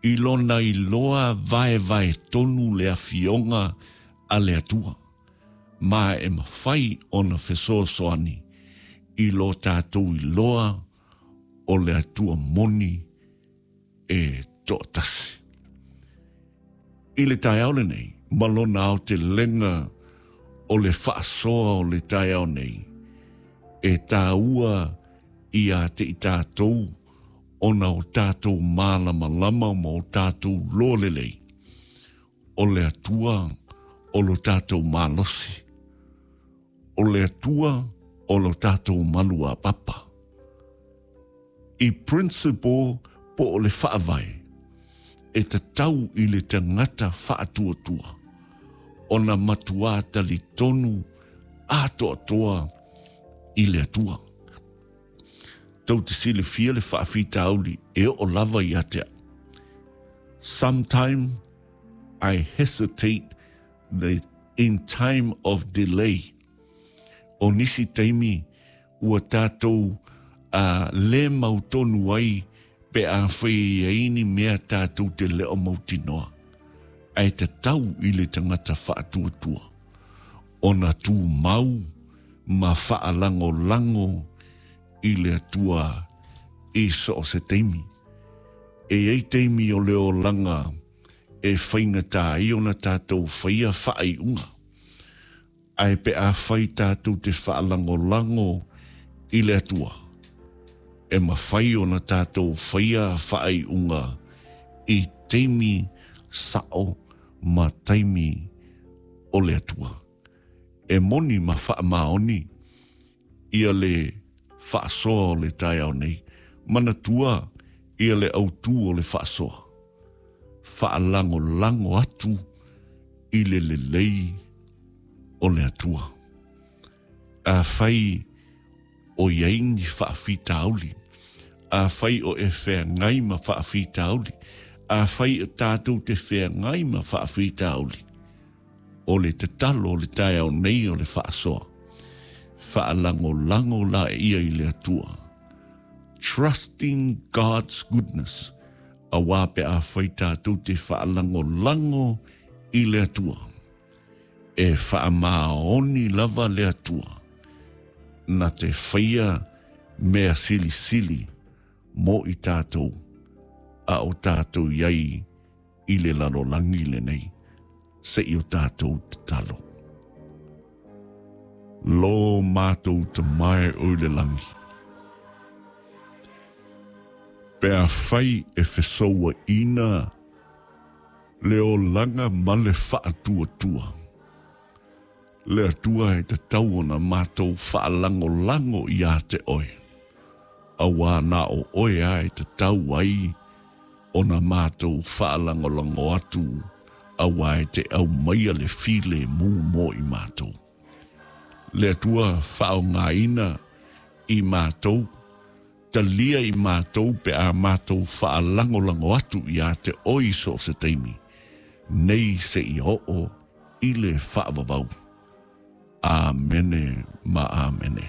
i lona iloa vaevaetonu le Afioga a le Atua, ma e mafai ona fesoasoani i lo tatou iloa o le Atua moni e toatasi. I le taeao lenei, ma lona aotelega o le faasoa o le taeao nei, e tāua ia te i tātou ona o tātou mālamalama ma o tātou loa lelei, o le Atua o lo tātou malosi, o le Atua o lo tātou malu āpapa. I principle po o le faavae, e tatau i le tangata faatuatua ona matuā talitonu atoatoa i le Atua. Tou te silafia le faafitauli e oo lava ia te au. Sometime I hesitate the in time of delay. O nisi taimi ua tātou a lē mautonu ai pe afai e i ai ni mea tātou te leo mautinoa, ae tatau i le tangata faatuatua ona tumau ma faalagolago i le Atua i so o se taimi. E i ai taimi o le olaga e faigata ai ona tātou whaia whaaiunga. Ae pe afai tātou te faalagolago i le Atua, e mafai ona tātou whaia whaaiunga i taimi sao ma taimi o le Atua. E moni ma faamaoni ia le faasoa o le taeao nei, manatua ia le autū o le faasoa. Faalagolago atu i le lelei o le Atua. Afai o i ai ni faafitauli, afai o e feagai ma faafitauli, afai o tātou te feagai ma faafitauli, o le tatalo o le taeao nei o le faasoa, faalagolago laia i le Atua. Trusting God's goodness, auā pe afai tātou te faalagolago i le Atua. E faamaoni lava le Atua, na te whaia mea silisili mō i tātou, a o tātou i ai i le lalolagi lenei, se i o tātou tatalo. Lo mātou Tama e o i le langi. Pe afai e fesouaina le olaga ma le faatuatua. Le Atua e tatau ona mātou faalagolago ia te Oe, auā na o Oe a e tatau ai ona mātou faalagolago atu auā e te aumaia le filemu mo i mātou. Le Atua faaaogaina i mātou, talia i mātou pe a mātou faalagolago atu ia te Oe i so o se taimi, nei seia oo i le faavavau. Āmene ma āmene.